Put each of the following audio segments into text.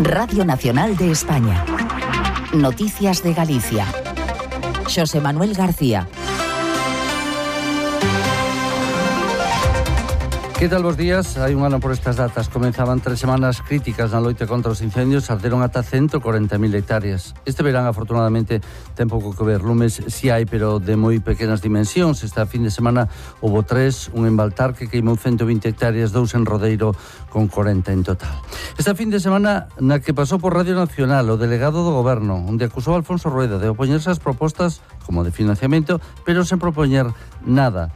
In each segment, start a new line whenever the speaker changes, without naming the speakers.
Radio Nacional de España. Noticias de Galicia. Xosé Manuel García.
Que tal vos días? Hai un ano por estas datas. Comenzaban 3 semanas críticas na loita contra os incendios. Arderon ata 140.000 hectáreas. Este verán, afortunadamente, ten pouco que ver. Lumes si hai, pero de moi pequenas dimensións. Esta fin de semana houve 3, un en Baltar que queimou 120 hectáreas, 2 en Rodeiro con 40 en total. Esta fin de semana na que pasou por Radio Nacional o delegado do Goberno, onde acusou a Alfonso Rueda de opoñerse ás propostas como de financiamento, pero sen propoñer nada.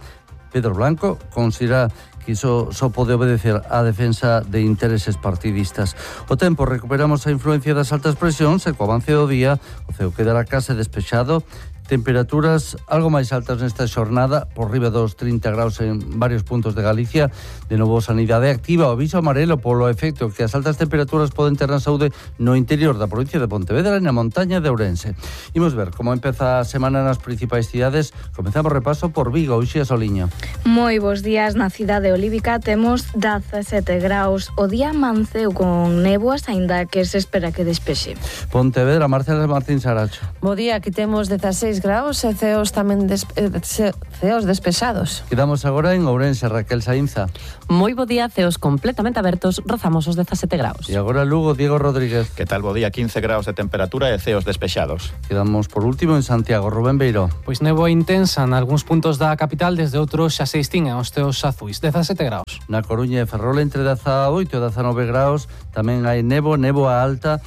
Pedro Blanco considera que iso só pode obedecer á defensa de intereses partidistas. O tempo, recuperamos a influencia das altas presións e co avance do día o ceo quedará case despexado. Temperaturas algo máis altas nesta xornada, por riba dos 30 graus en varios puntos de Galicia. De novo, sanidade activa o aviso amarelo polo efecto que as altas temperaturas poden ter na saúde no interior da provincia de Pontevedra e na montaña de Ourense. Imos ver como empeza a semana nas principais cidades. Comezamos repaso por Vigo, Uxía Soliño.
Moi bons días na cidade olívica, temos 17 graus. O día amanceu con néboas, aínda que se espera que despexe.
Pontevedra, Marcela Martín Saracho.
Bo día, aquí temos 16 graus e ceos tamén ceos despexados.
Quedamos agora en Ourense, Raquel Saínza.
Moi bo día, ceos completamente abertos, rozamos os 17 graus.
E agora Lugo, Diego Rodríguez.
Que tal bo día, 15 graus de temperatura e ceos despexados.
Quedamos por último en Santiago, Rubén Beiro.
Pois néboa intensa nalgúns puntos da capital, desde outros xa se distinguen os teos azuis, 17 graus.
Na Coruña e Ferrol entre 18 e 19 graus, tamén hai néboa alta,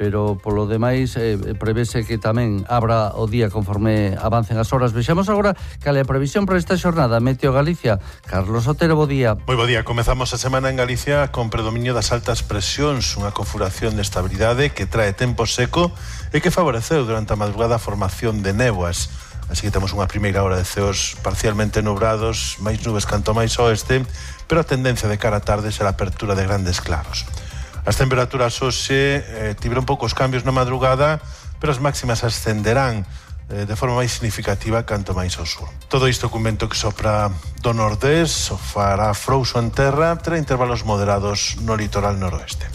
pero polo demais prevese que tamén abra o día conforme avancen as horas. Vexamos agora cal é a previsión para esta xornada. Meteo Galicia, Carlos Otero, bo día.
Moi bo día, comezamos a semana en Galicia con predominio das altas presións, unha configuración de estabilidade que trae tempo seco e que favoreceu durante a madrugada a formación de néboas. Así que temos unha primeira hora de ceos parcialmente nubrados, máis nubes canto máis oeste, pero a tendencia de cara a tarde será a apertura de grandes claros. As temperaturas hoxe tiveron poucos cambios na madrugada, pero as máximas ascenderán de forma máis significativa canto máis ao sur. Todo isto cun vento que sopra do nordés, o fará frouxo en terra, terá intervalos moderados no litoral noroeste.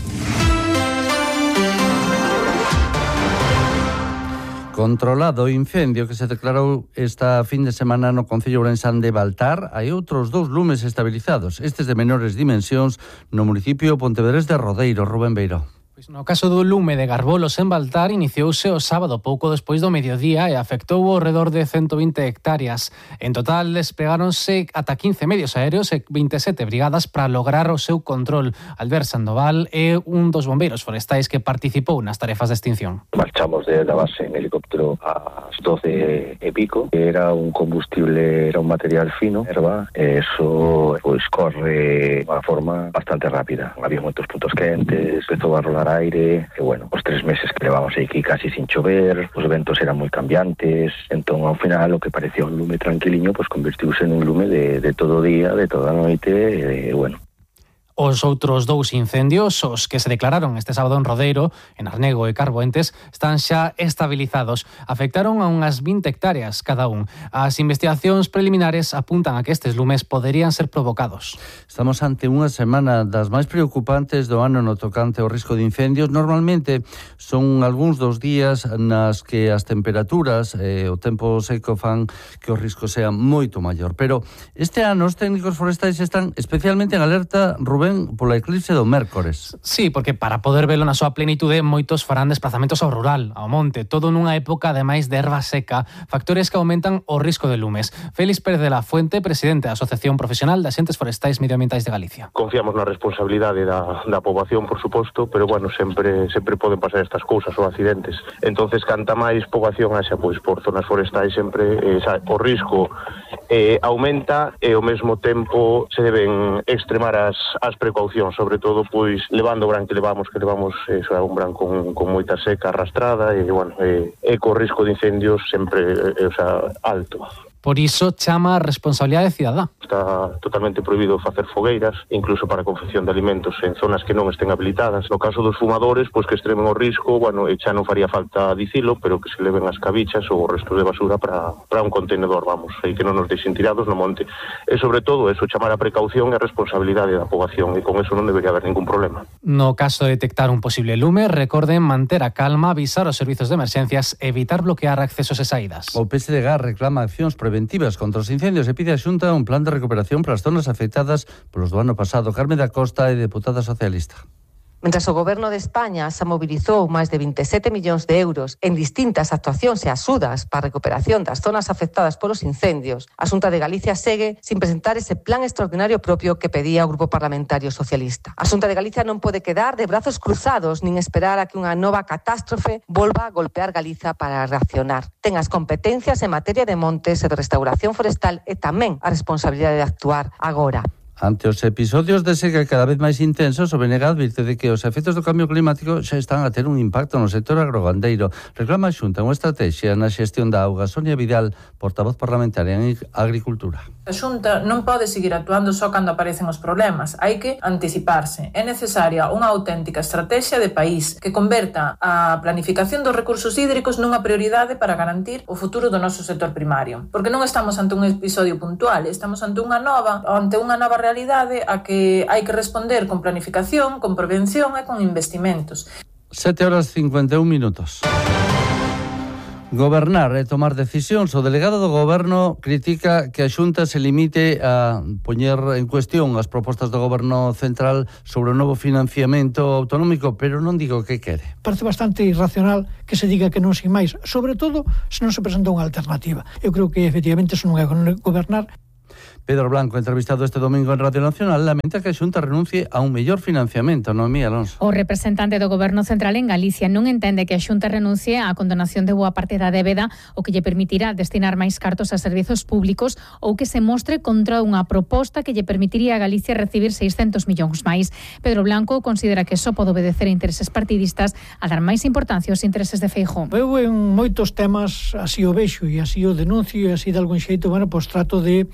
Controlado o incendio que se declarou esta fin de semana no concello ourensán de Baltar, hai outros 2 lumes estabilizados, estes de menores dimensións no municipio pontevedrés de Rodeiro, Rubén Beiro.
Pois no caso do lume de Garbolos en Baltar, iniciouse o sábado pouco despois do mediodía e afectou ao redor de 120 hectáreas. En total despegáronse ata 15 medios aéreos e 27 brigadas para lograr o seu control. Albert Sandoval é un dos bombeiros forestais que participou nas tarefas de extinción.
Marchamos de la base en helicóptero ás 12 e pico. Era un combustible, era un material fino, erva, e eso pois corre de unha forma bastante rápida. Había moitos puntos quentes, empezou a rolar aire, e bueno, os 3 meses que levamos aquí casi sin chover, os ventos eran moi cambiantes, entón ao final o que parecía un lume tranquiliño, pois convertiuse en un lume de todo o día, de toda a noite, e bueno.
Os outros 2 incendios, os que se declararon este sábado en Rodeiro, en Arnego e Carboentes, están xa estabilizados. Afectaron a unhas 20 hectáreas cada un. As investigacións preliminares apuntan a que estes lumes poderían ser provocados.
Estamos ante unha semana das máis preocupantes do ano no tocante ao risco de incendios. Normalmente son algúns dos días nas que as temperaturas e o tempo seco fan que o risco sea moito maior. Pero este ano os técnicos forestais están especialmente en alerta, Rubén, pola eclipse do mércores.
Sí, porque para poder velo na súa plenitude moitos farán desplazamentos ao rural, ao monte, todo nunha época ademais de erva seca, factores que aumentan o risco de lumes. Félix Pérez de la Fuente, presidente da Asociación Profesional de Axentes Forestais Medioambientais de Galicia.
Confiamos na responsabilidade da poboación, por suposto, pero bueno, sempre poden pasar estas cousas ou accidentes. Entonces, canta máis poboación haxa pois por zonas forestais sempre o risco aumenta e ao mesmo tempo se deben extremar as precaucións, sobre todo pois levando o bran que levamos un bran con moita seca arrastrada e bueno, co risco de incendios sempre alto.
Por iso chama a responsabilidade cidadá.
Está totalmente prohibido facer fogueiras, incluso para a confección de alimentos en zonas que non estén habilitadas. No caso dos fumadores, pois que extremen o risco, bueno, e xa non faría falta dicilo, pero que se leven as cabichas ou o resto de basura para un contenedor, vamos, e que non nos deixen tirados no monte. E sobre todo, eso, chamar a precaución e a responsabilidade da poboación, e con eso non debería haber ningún problema.
No caso de detectar un posible lume, recorden manter a calma, avisar aos servizos de emerxencias, evitar bloquear accesos e saídas.
O PSDG reclama accións preventivas contra os incendios e pide a Xunta un plan de recuperación para as zonas afectadas polos do ano pasado. Carmen da Costa é deputada socialista.
Mentras o Goberno de España se mobilizou máis de 27 millóns de euros en distintas actuacións e axudas para a recuperación das zonas afectadas polos incendios, a Xunta de Galicia segue sin presentar ese plan extraordinario propio que pedía o Grupo Parlamentario Socialista. A Xunta de Galicia non pode quedar de brazos cruzados nin esperar a que unha nova catástrofe volva a golpear Galiza para reaccionar. Ten as competencias en materia de montes e de restauración forestal e tamén a responsabilidade de actuar agora.
Ante os episodios de seca cada vez máis intensos, o BNG advirte de que os efectos do cambio climático xa están a ter un impacto no sector agrogandeiro. Reclama a Xunta unha estrategia na xestión da auga. Sonia Vidal, portavoz parlamentaria en Agricultura.
A Xunta non pode seguir actuando só cando aparecen os problemas. Hai que anticiparse. É necesaria unha auténtica estrategia de país que converta a planificación dos recursos hídricos nunha prioridade para garantir o futuro do noso sector primario. Porque non estamos ante un episodio puntual, estamos ante unha nova realidade a que hai que responder con planificación, con prevención e con investimentos.
7:51. Gobernar e tomar decisións. O delegado do Goberno critica que a Xunta se limite a poñer en cuestión as propostas do Goberno central sobre o novo financiamento autonómico, pero non digo o que quere.
Parece bastante irracional que se diga que non sin máis, sobre todo se non se presenta unha alternativa. Eu creo que efectivamente eso non é gobernar.
Pedro Blanco, entrevistado este domingo en Radio Nacional, lamenta que a Xunta renuncie a un mellor financiamento, Noemí Alonso.
O representante do Goberno Central en Galicia non entende que a Xunta renuncie á condonación de boa parte da débeda, o que lle permitirá destinar máis cartos a servizos públicos, ou que se mostre contra unha proposta que lle permitiría a Galicia recibir 600 millóns máis. Pedro Blanco considera que só pode obedecer a intereses partidistas a dar máis importancia aos intereses de Feijóo.
Eu en moitos temas así o vexo e así o denuncio e así de algún xeito, pois trato de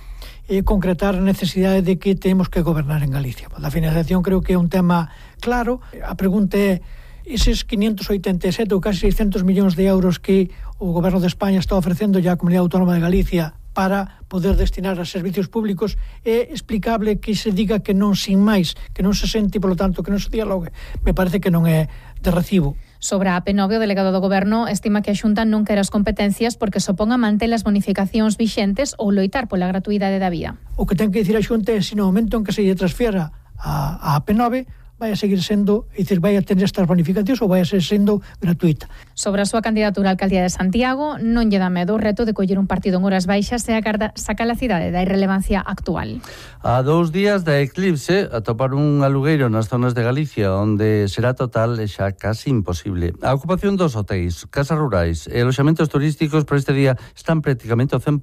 concretar a necesidade de que temos que gobernar en Galicia. A financiación creo que é un tema claro. A pregunta é, eses 587 ou casi 600 millóns de euros que o Goberno de España está ofrecendo ya a Comunidade Autónoma de Galicia para poder destinar a servicios públicos, é explicable que se diga que non sin máis, que non se sente e, polo tanto, que non se dialogue. Me parece que non é de recibo.
Sobre a AP9, o delegado do Goberno estima que a Xunta non quere as competencias porque supón a manter as bonificacións vixentes ou loitar pola gratuidade da vía.
O que ten que dicir a Xunta é se no momento en que se lle transfiera a AP9 vai a seguir sendo, é dicir, vai a tener estas bonificacións ou vai a ser sendo gratuita.
Sobre a súa candidatura á alcaldía de Santiago, non lle dá medo o reto de coller un partido en horas baixas e agarda sacar a cidade da irrelevancia actual.
A 2 días da eclipse, atopar un alugueiro nas zonas de Galicia onde será total é xa casi imposible. A ocupación dos hotéis, casas rurais e aloxamentos turísticos por este día están prácticamente ao 100%.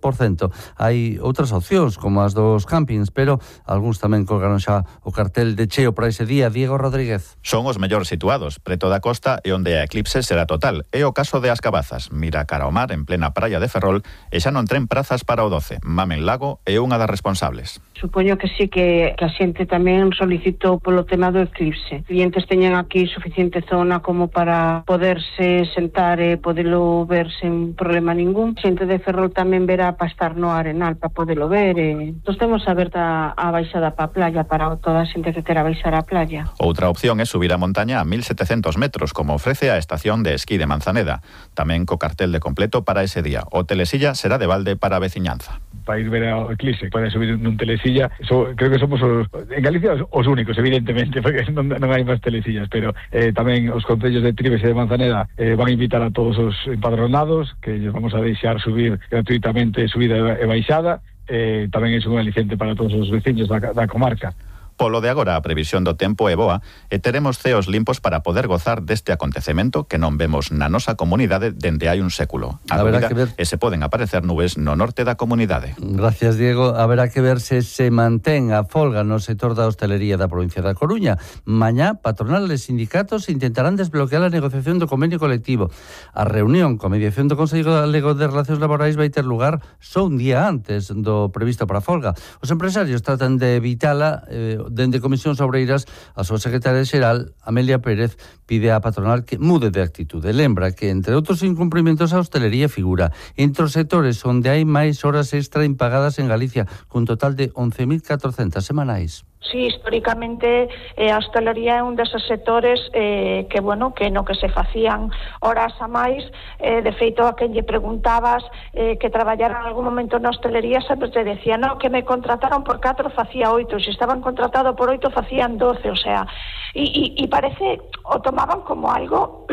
Hai outras opcións, como as dos campings, pero algúns tamén colgaron xa o cartel de cheo para ese día. Diego Rodríguez.
Son os mellor situados, preto da costa e onde a eclipse será total. É o caso de As Cabazas, mira cara ao mar en plena praia de Ferrol e xa non tren prazas para o 12. Mamen Lago é unha das responsables.
Supoño que sí que a xente tamén solicitou polo tema do eclipse. Clientes teñen aquí suficiente zona como para poderse sentar e podelo ver sen problema ningún. Xente de Ferrol tamén verá para estar no Arenal para podelo ver. Nós temos aberta a baixada para a playa para toda a xente que quera baixar a playa.
Outra opción é subir a montaña a 1.700 metros, como ofrece a estación de esquí de Manzaneda. Tamén co cartel de completo para ese día. O telesilla será de balde para a veciñanza.
Para ir ver o eclipse, pode subir nun telesilla. Creo que somos en Galicia os únicos, evidentemente, porque non hai máis telesillas, pero tamén os concellos de Trives e de Manzaneda van a invitar a todos os empadronados, que lles vamos a deixar subir gratuitamente subida e baixada. Tamén é un aliciente para todos os veciños da comarca.
Polo de agora, a previsión do tempo é boa e teremos ceos limpos para poder gozar deste acontecemento que non vemos na nosa comunidade dende hai un século. A dúbida é se poden aparecer nubes no norte da comunidade.
Gracias, Diego. Haberá que ver se mantén a folga no sector da hostelería da provincia da Coruña. Mañá, patronal e sindicatos intentarán desbloquear a negociación do convenio colectivo. A reunión con mediación do Consello Galego de Relacións Laborais vai ter lugar só un día antes do previsto para a folga. Os empresarios tratan de evitala. Dende Comisións Obreiras, a súa secretaria xeral, Amelia Pérez, pide á patronal que mude de actitude. Lembra que, entre outros incumprimentos, a hostelería figura entre os sectores onde hai máis horas extra impagadas en Galicia, cun total de 11.400 semanais.
Sí, históricamente a hostelería é un deses sectores que no que se facían horas a máis. De feito, a quen lle preguntabas que traballara en algún momento na hostelería sempre te decía, no, que me contrataron por 4 facía 8, se estaban contratados por 8 facían 12, o sea, e parece, o tomaban como algo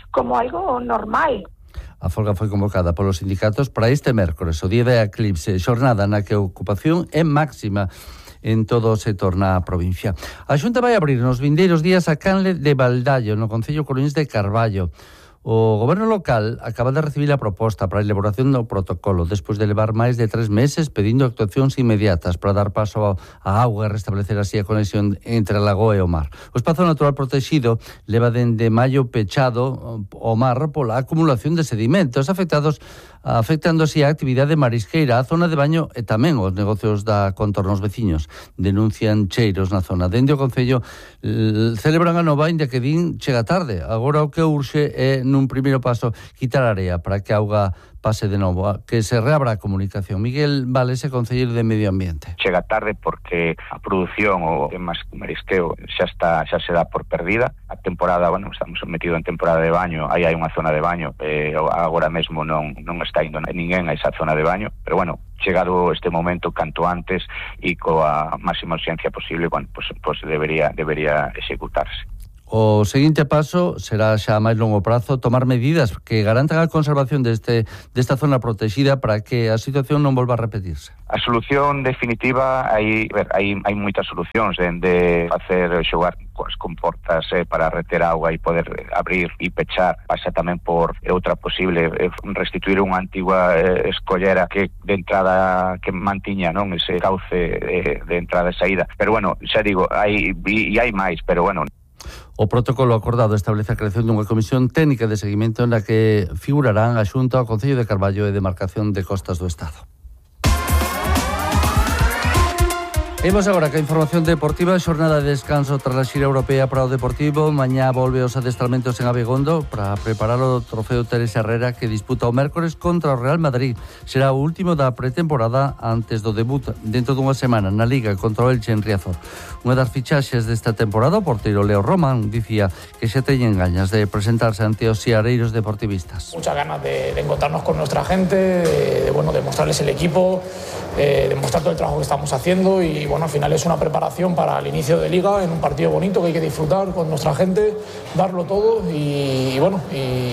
como algo normal.
A folga foi convocada polos sindicatos para este mércores, o día da eclipse, xornada na que a ocupación é máxima en todo o sector na provincia. A Xunta vai abrir nos vindeiros días a canle de Baldallo, no concello coruñés de Carballo. O goberno local acaba de recibir a proposta para a elaboración do protocolo despois de levar máis de 3 meses pedindo actuacións inmediatas para dar paso á auga e restablecer así a conexión entre a lagoa e o mar. O espazo natural protegido leva dende maio pechado o mar pola acumulación de sedimentos afectando así a actividade marisqueira, a zona de baño e tamén os negocios da contornos veciños. Denuncian cheiros na zona. Dende o concello celebran a nova, inda que din chega tarde. Agora o que urxe é nun primeiro paso quitar a area para que a auga pase de novo, que se reabra a comunicación. Miguel Valese, concelleiro de Medio Ambiente.
Chega tarde porque a produción o temas marisqueo xa se dá por perdida. A temporada, estamos sometidos en temporada de baño, aí hai unha zona de baño, agora mesmo non está indo ninguén a esa zona de baño, pero chegado este momento canto antes e coa máxima urxencia posible, pues debería executarse.
O seguinte paso será xa a máis longo prazo tomar medidas que garantan a conservación desta zona protegida para que a situación non volva a repetirse.
A solución definitiva, hai moitas solucións, dende facer xogar coas comportas para reter auga e poder abrir e pechar. Pasa tamén por outra posible restituir unha antigua escollera que de entrada que mantiña ese cauce de entrada e saída. Pero xa digo, hai máis, pero
O protocolo acordado establece a creación dunha comisión técnica de seguimento na que figurarán a Xunta, o Concello de Carballo e Demarcación de Costas do Estado. Imos agora ca información deportiva, xornada de descanso tras a xira europea para o Deportivo. Mañá volve os adestramentos en Abegondo para preparar o trofeo Teresa Herrera que disputa o mércores contra o Real Madrid. Será o último da pretemporada antes do debut dentro dunha semana na Liga contra o Elche en Riazor. Unha das fichaxes desta temporada, o porteiro Leo Román, dicía que xa teñen gañas de presentarse ante os xiareiros deportivistas.
Muchas ganas de encontrarnos con nuestra gente, de mostrarles el equipo, demostrar todo el trabajo que estamos haciendo y al final es una preparación para el inicio de Liga en un partido bonito que hay que disfrutar con nuestra gente, darlo todo y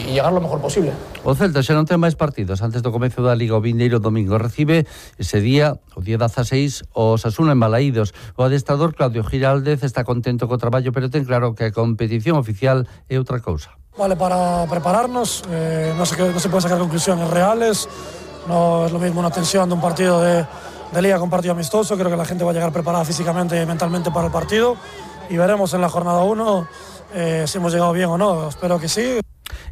llegar lo mejor posible.
O Celta xa non ten máis partidos antes do comezo da Liga. O vindeiro domingo recibe ese día, o día 16, o Osasuna en Balaídos. O adestrador Claudio Giraldez está contento co traballo, pero ten claro que a competición oficial é outra cousa.
Vale, para prepararnos, no se pueden sacar conclusiones reales, no es lo mismo una tensión de un partido de Liga con partido amistoso. Creo que la gente va a llegar preparada físicamente y mentalmente para el partido y veremos en la jornada 1 si hemos llegado bien o no. Espero que sí.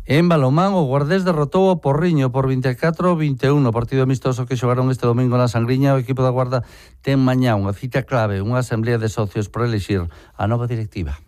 En balonmán, o Guardés derrotou o Porriño por 24-21, partido amistoso que xogaron este domingo na Sangriña. O equipo da Guarda ten mañá unha cita clave, unha asamblea de socios para elixir a nova directiva.